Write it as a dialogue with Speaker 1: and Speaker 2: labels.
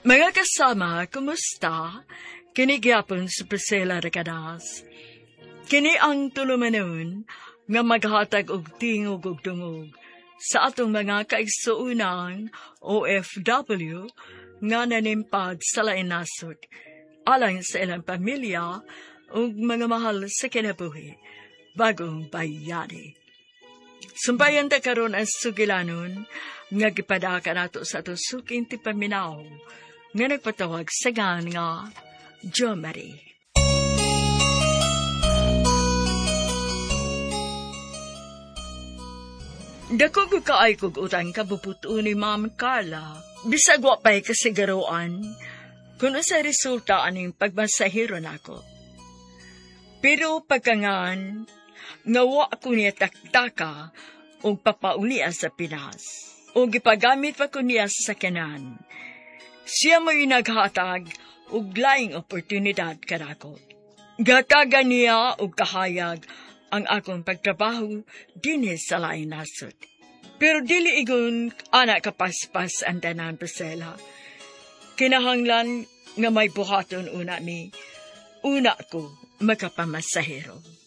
Speaker 1: Mga kasama, kumusta? Kini gyapon si Priscilla Recadas. Kini ang tulumanon nga maghatag og tingog ug dungog sa atong mga kaigsuonan OFW nga nanimpad sa lain nasod alang sa ilang pamilya ug mga mahal sa kinabuhi, bagong bayani. Sumpayan ta karon ang sugilanon nga gipadaka nato sa atong suking tipaminaw nga nagpatawag sa gan nga Jo Marie. Dako ko kaay kog utang kabuputo ni Ma'am Carla. Bisag wa pa'y kasigaroan kung sa resulta aning pagmasahiro nako. Pero pagkangan, nga wa ko niya taktaka og papaulia sa Pinas. O gipagamit pa ko niya sa sakyanan. Siya mo'y naghatag og laing oportunidad kanako. Gatagan niya og kahayag ang akong pagtrabaho dinhi sa laing nasod. Pero dili igon ana kapaspas ang tanan, Priscilla. Kinahanglan nga may buhaton una mi. Una ko makapamasahero.